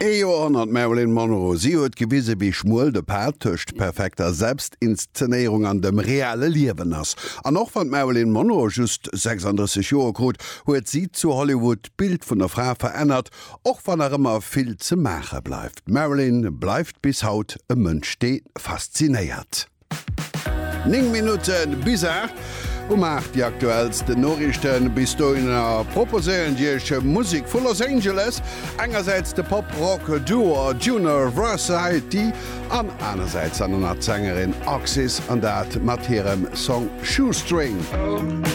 Ee Joerhonnert Marilyn Monroe, si huet gewise wéi schmuel de Pad tëscht perfekter Selbstinszenéierung an dem reale Liewen ass. An och wann d'Marilyn Monroe just 36 Joer krut, huet si zu Hollywood d'Bild vun der Fra verännert, och wann nach ëmmer vill ze maache bleift. D'Marilyn bleift bis haut e Mënsch dee faszinéiert. 9 Minutte bis 8. Um 8 déi aktuellsten Noriichten. Bis dohinner proposéieren déi Iech Musek vu Los Angeles, engersäits de Pop-Rock Duo Junior Varsity an anersäits dann nach d'Sängerin Oxys an dat mat hirem Song Shoestring.